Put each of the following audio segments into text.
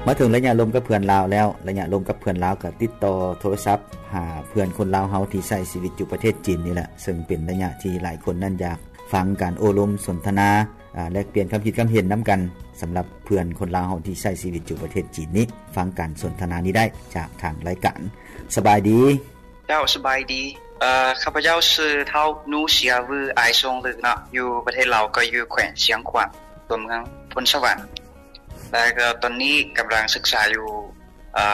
ມາເຖິງໄລຍະລົມກັບເພື່ອນລາວແລ້ວ, ໄລຍະລົມກັບເພື່ອນລາວກໍຕິດຕໍ່ໂທລະສັບຫາເພື່ອນຄົນລາວເຮົາທີ່ໃຊ້ຊີວິດຢູ່ປະເທດຈີນນີ້ແຫຼະ, ເຊິ່ງເປັນໄລຍະທີ່ຫຼາຍຄົນນັ້ນຢາກຟັງການໂອ້ລົມສົນທະນາ, ອາ, ແລກປ່ຽນຄຳຄິດຄຳເຫັນນຳກັນ. ສຳລັບເພື່ອນຄົນລາວເຮົາທີ່ໃຊ້ຊີວິດຢູ່ປະເທດຈີນນີ້, ຟັງການສົນທະນານີ້ໄດ້ຈາກທາງລາຍການ. ສະບາຍດີ. ເຈົ້າ ສະບາຍດີ. ເອີ ຂ້າພະເຈົ້າຊື່ທ້າວ ນູເຊຍວື ອາຍຊົງລຶກເນາະ, ຢູ່ປະເທດລາວກໍຢູ່ແຂວງຊຽງຂວາງ ຕົວເມືອງໂພນສະຫວັນ. ແລ້ວກໍຕອນນີ້ກຳລັງສຶກສາຢູ່ ເອີ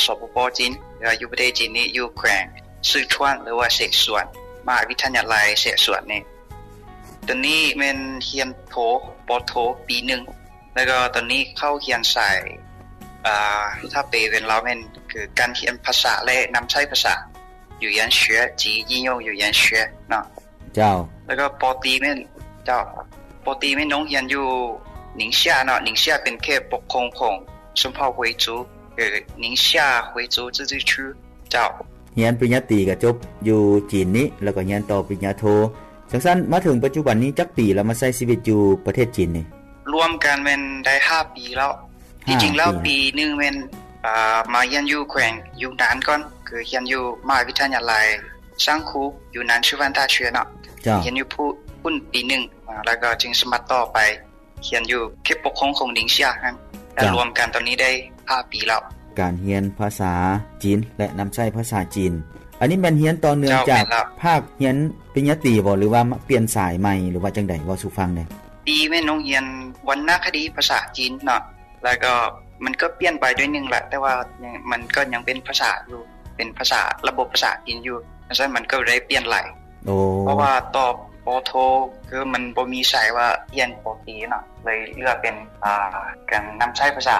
ສປປ ຈີນ ແລ້ວຢູ່ປະເທດຈີນນີ້ ຢູ່ແຂວງຊື່ທວນ ຫຼືວ່າເສສວນ, ມະຫາວິທະຍາໄລເສສວນນີ້. ຕອນນີ້ແມ່ນຮຽນໂທ, ປ.ໂທ ປີໜຶ່ງ. ແລ້ວກໍຕອນນີ້ເຂົ້າຮຽນສາຍ ເອີ ຖ້າແປເປັນລາວແມ່ນຄືການຮຽນພາສາ ແລະ ນຳໃຊ້ພາສາ 语言学及应用语言学 ເນາະ. ເຈົ້າ. ແລ້ວກໍ ປ.ຕີ ແມ່ນ ເຈົ້າ ປ.ຕີ ແມ່ນນ້ອງຮຽນຢູ່ 宁夏 ເນາະ, 宁夏 ເປັນເຂດປົກຄອງຂອງ ชนเผ่า回族 ຫຼື 宁夏回族自治区 ເຈົ້າ. ຮຽນປະລິນຍາຕີກໍຈົບຢູ່ຈີນນີ້ ແລ້ວກໍຮຽນຕໍ່ປະລິນຍາໂທ. ຈັ່ງຊັ້ນ ມາເຖິງປັດຈຸບັນນີ້ຈັກປີແລ້ວ ມາໃຊ້ຊີວິດຢູ່ປະເທດຈີນນີ້? ລວມກັນແມ່ນໄດ້ຫ້າປີແລ້ວ. ທີ່ຈິງແລ້ວ ຫ້າປີ ປີໜຶ່ງແມ່ນ ເອີ ມາຮຽນຢູ່ແຂວງຢູນານກ່ອນ, ຄືຮຽນຢູ່ມະຫາວິທະຍາໄລ ຊາງຄູ ຢູນານ ຊືວັນຕາເຊຍ ເນາະ. ເຈົ້າ. ຮຽນຢູ່ພຸ້ນປີໜຶ່ງ ແລ້ວກໍຈຶ່ງສະໝັກຕໍ່ໄປ ຮຽນຢູ່ເຂດປົກຄອງຂອງ 宁夏 ຫັ້ນ ແລ້ວ ເຈົ້າ ລວມກັນຕອນນີ້ໄດ້ຫ້າປີແລ້ວ. ການຮຽນພາສາຈີນ ແລະ ນຳໃຊ້ພາສາຈີນ ອັນນີ້ແມ່ນຮຽນຕໍ່ເນື່ອງ ເຈົ້າ ຈາກ ແມ່ນແລ້ວ ພາກຮຽນປະລິນຍາຕີບໍ ຫຼືວ່າມາປ່ຽນສາຍໃໝ່ ຫຼືວ່າຈັ່ງໃດ? ເວົ້າສູ່ຟັງແດ່. ປີແມ່ນໂຮງຮຽນວັນນະຄະດີພາສາຈີນເນາະ, ແລ້ວກໍມັນກໍປ່ຽນໄປໜ້ອຍໜຶ່ງລະ, ແຕ່ວ່າມັນກໍຍັງເປັນພາສາຢູ່, ເປັນພາສາ ລະບົບພາສາຈີນຢູ່. ຈັ່ງຊັ້ນມັນກໍໄດ້ປ່ຽນຫຼາຍ. ໂອ້ ເພາະວ່າຕໍ່ ປ.ໂທ ຄືມັນບໍ່ມີສາຍວ່າຮຽນ ປ.ຕີ ເນາະ, ເລີຍເລືອກເປັນ ອ່າ ການນຳໃຊ້ພາສາ.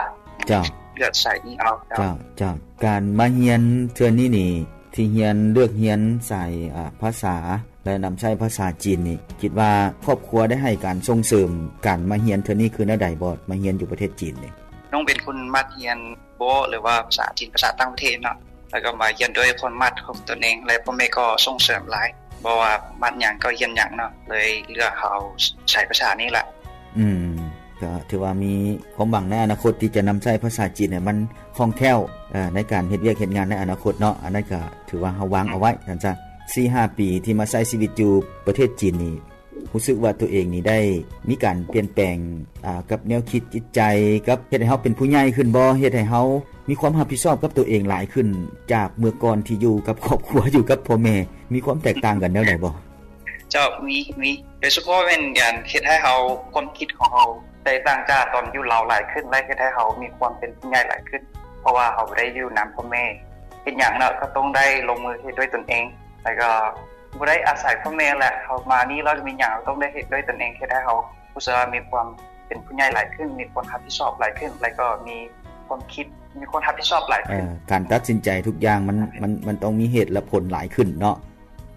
ເຈົ້າ. ເລືອກສາຍນີ້ເອົາ. ເຈົ້າ. ເຈົ້າ ເຈົ້າ. ການມາຮຽນເທື່ອນີ້ນີ້ ທີ່ຮຽນ ເລືອກຮຽນສາຍ ອ່າ ພາສາ ແລະ ນຳໃຊ້ພາສາຈີນນີ້ ຄິດວ່າຄອບຄົວໄດ້ໃຫ້ການສົ່ງເສີມການມາຮຽນເທື່ອນີ້ຄືແນວໃດບໍ່? ມາຮຽນຢູ່ປະເທດຈີນນີ້. ນ້ອງເປັນຄົນມັກຮຽນ ບໍ ຫຼືວ່າພາສາຈີນ ພາສາຕ່າງປະເທດເນາະ, ແລ້ວກໍມາຮຽນດ້ວຍຄວາມມັກຂອງຕົນເອງ ແລະ ພໍ່ແມ່ກໍສົ່ງເສີມຫຼາຍ, ບໍ່ວ່າມັກຫຍັງກໍຮຽນຫຍັງເນາະ, ເລີຍເລືອກເອົາສາຍພາສານີ້ລະ. ອືມ ກໍຖືວ່າມີຄວາມຫວັງໃນອະນາຄົດທີ່ຈະນຳໃຊ້ພາສາຈີນໃຫ້ມັນຄ່ອງແຄ້ວ ເອີ ໃນການເຮັດວຽກເຮັດງານໃນອະນາຄົດເນາະ, ອັນນັ້ນກໍຖືວ່າເຮົາວາງເອົາໄວ້ ອືມ ຊັ້ນຊະ. ສີ່ຫ້າປີທີ່ມາໃຊ້ຊີວິດຢູ່ປະເທດຈີນນີ້ ຮູ້ສຶກວ່າຕົວເອງນີ້ໄດ້ມີການປ່ຽນແປງ ອ່າ ກັບແນວຄິດຈິດໃຈ ກັບເຮັດໃຫ້ເຮົາເປັນຜູ້ໃຫຍ່ຂຶ້ນບໍ່? ເຮັດໃຫ້ເຮົາມີຄວາມຮັບຜິດຊອບກັບຕົວເອງຫຼາຍຂຶ້ນ ຈາກເມື່ອກ່ອນທີ່ຢູ່ກັບຄອບຄົວ ຢູ່ກັບພໍ່ແມ່ ມີຄວາມແຕກຕ່າງກັນແນວໃດບໍ່? ເຈົ້າ ມີ ມີ. ໂດຍສະເພາະແມ່ນການເຮັດໃຫ້ເຮົາ ຄວາມຄິດຂອງເຮົາແຕກຕ່າງຈາກຕອນຢູ່ລາວຫຼາຍຂຶ້ນ ແລະ ເຮັດໃຫ້ເຮົາມີຄວາມເປັນຜູ້ໃຫຍ່ຫຼາຍຂຶ້ນ ເພາະວ່າເຮົາບໍ່ໄດ້ຢູ່ນຳພໍ່ແມ່ ເຮັດຫຍັງເນາະ ກໍຕ້ອງໄດ້ລົງມືເຮັດດ້ວຍຕົນເອງ ແລ້ວກໍ ບໍ່ໄດ້ອາໄສພໍ່ແມ່ແຫຼະ, ເຮົາມານີ້ແລ້ວມີຫຍັງເຮົາຕ້ອງໄດ້ເຮັດດ້ວຍຕົນເອງ, ເຮັດໃຫ້ເຮົາຮູ້ສຶກວ່າມີຄວາມເປັນຜູ້ໃຫຍ່ຫຼາຍຂຶ້ນ, ມີຄວາມຮັບຜິດຊອບຫຼາຍຂຶ້ນ, ແລ້ວກໍມີຄວາມຄິດ, ມີຄວາມຮັບຜິດຊອບຫຼາຍຂຶ້ນ. ເອີ, ການຕັດສິນໃຈທຸກຢ່າງມັນ, ມັນ, ມັນຕ້ອງມີເຫດແລະຜົນຫຼາຍຂຶ້ນເນາະ.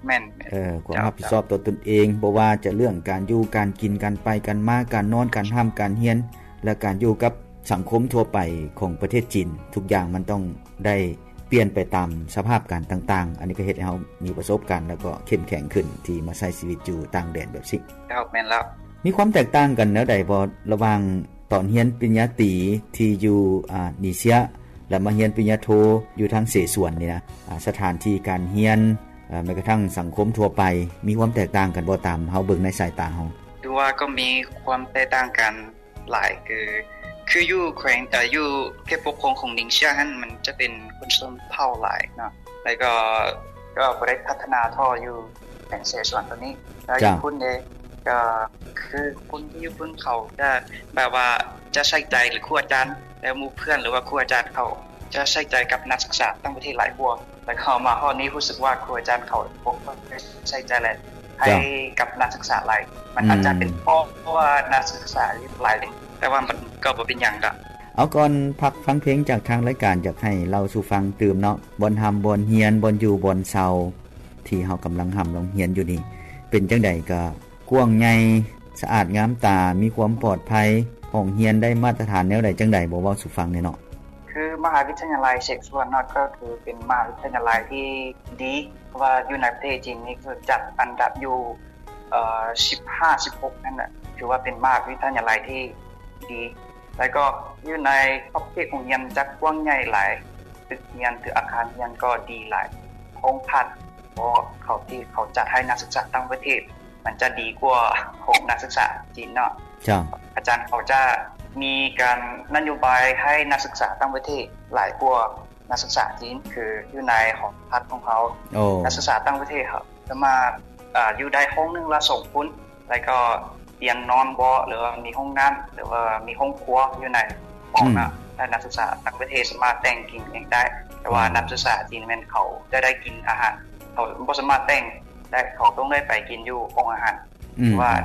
ແມ່ນ, ແມ່ນ. ເອີ, ຄວາມຮັບຜິດຊອບຕໍ່ຕົນເອງ, ບໍ່ວ່າຈະເລື່ອງການຢູ່, ການກິນ, ການໄປ, ການມາ, ການນອນ, ການຮ່ຳ, ການຮຽນ ແລະ ການຢູ່ກັບສັງຄົມທົ່ວໄປຂອງປະເທດຈີນ, ທຸກຢ່າງມັນຕ້ອງ ໄດ້ປ່ຽນໄປຕາມສະພາບການຕ່າງໆ. ອັນນີ້ກໍເຮັດໃຫ້ເຮົາມີປະສົບການ ແລ້ວກໍເຂັ້ມແຂງຂຶ້ນທີ່ມາໃຊ້ຊີວິດຢູ່ຕ່າງແດນແບບນີ້. ເຈົ້າ, ແມ່ນແລ້ວ. ມີຄວາມແຕກຕ່າງກັນແນວໃດບໍ່ ລະຫວ່າງຕອນຮຽນປະລິນຍາຕີທີ່ຢູ່ ອາ ນີເຊຍ ແລະ ມາຮຽນປະລິນຍາໂທຢູ່ທາງເສສວນນີ້ນະ? ອາ ສະຖານທີ່ການຮຽນ, ອາ ແມ້ກະທັ່ງສັງຄົມທົ່ວໄປ ມີຄວາມແຕກຕ່າງກັນບໍ່ ຕາມເຮົາເບິ່ງໃນສາຍຕາເຮົາ? ຖືວ່າກໍມີຄວາມແຕກຕ່າງກັນ ຫຼາຍ ຄື ຄືຢູ່ແຂວງ ເອີ ຢູ່ເຂດປົກຄອງຂອງນິງເຊຍຫັ້ນ ມັນຈະເປັນຄົນຊົນເຜົ່າຫຼາຍເນາະ ແລ້ວກໍ ກໍບໍ່ໄດ້ພັດທະນາທໍ່ຢູ່ແຂວງເສສວນຕົວນີ້. ແລ້ວຢູ່ພຸ້ນເດ ກໍຄືຄົນທີ່ຢູ່ພຸ້ນເຂົາຈະແບບວ່າຈະໃສ່ໃຈ ຫຼື ຄູອາຈານ ແລະ ໝູ່ເພື່ອນ ຫຼືວ່າຄູອາຈານເຂົາຈະໃສ່ໃຈກັບນັກສຶກສາຕ່າງປະເທດຫຼາຍກວ່າ. ແລ້ວເຂົ້າມາຮອດນີ້ຮູ້ສຶກວ່າຄູອາຈານເຂົາບໍ່ຄ່ອຍໃສ່ໃຈ ແລະ ໃຫ້ກັບນັກສຶກສາຫຼາຍ. ມັນອາດຈະເປັນເພາະວ່ານັກສຶກສາຫຼາຍ ແຕ່ວ່າມັນກໍບໍ່ເປັນຫຍັງດອກ. ເອົາ ກ່ອນພັກຟັງເພງຈາກທາງລາຍການ ຢາກໃຫ້ເລົ່າສູ່ຟັງຕື່ມເນາະ ບ່ອນຮ່ຳບ່ອນຮຽນ ບ່ອນຢູ່ບ່ອນເຊົາ ທີ່ເຮົາກຳລັງຮ່ຳລອງຮຽນຢູ່ນີ້ ເປັນຈັ່ງໃດ? ກໍກວ້າງໃຫຍ່ ສະອາດງາມຕາ ມີຄວາມປອດໄພ ຫ້ອງຮຽນໄດ້ມາດຕະຖານແນວໃດ ຈັ່ງໃດ ບໍ່ເວົ້າສູ່ຟັງແດ່ເນາະ? ຄືມະຫາວິທະຍາໄລເຊກຊວນເນາະ ກໍຄືເປັນມະຫາວິທະຍາໄລທີ່ດີ ເພາະວ່າຢູ່ໃນປະເທດຈີນນີ້ຄືຈັດອັນດັບຢູ່ ເອີ ສິບຫ້າ ສິບຫົກ ນັ້ນນະ ຖືວ່າເປັນມະຫາວິທະຍາໄລທີ່ດີ ແລ້ວກໍຢູ່ໃນຂອບເຂດໂຮງຮຽນຈະກວ້າງໃຫຍ່ຫຼາຍ, ຕຶກຮຽນ ຫຼື ອາຄານຮຽນກໍດີຫຼາຍ, ຫ້ອງພັກ ເພາະເຂົາທີ່ເຂົາຈັດໃຫ້ນັກສຶກສາຕ່າງປະເທດ ມັນຈະດີກວ່າຂອງນັກສຶກສາຈີນເນາະ. ເຈົ້າ. ອາຈານເຂົາຈະມີການນະໂຍບາຍໃຫ້ນັກສຶກສາຕ່າງປະເທດຫຼາຍກວ່ານັກສຶກສາຈີນ, ຄືຢູ່ໃນຫໍພັກຂອງເຂົາ ໂອ້ ນັກສຶກສາຕ່າງປະເທດເຂົາສາມາດ ເອີ ຢູ່ໄດ້ຫ້ອງໜຶ່ງລະສອງຄົນ ແລ້ວກໍປ່ຽນນອນເບາະ ຫຼືວ່າມີຫ້ອງນ້ຳ ຫຼືວ່າມີຫ້ອງຄົວຢູ່ໃນຫ້ອງນະ. ອືມ. ແລະ ນັກສຶກສາຕ່າງປະເທດສາມາດແຕ່ງກິນເອງໄດ້, ແຕ່ວ່າ ອໍ ນັກສຶກສາຈີນແມ່ນເຂົາຈະໄດ້ກິນອາຫານ ເຂົາບໍ່ສາມາດແຕ່ງໄດ້, ເຂົາຕ້ອງໄດ້ໄປກິນຢູ່ຫ້ອງອາຫານ. ອືມ. ວ່າໃນ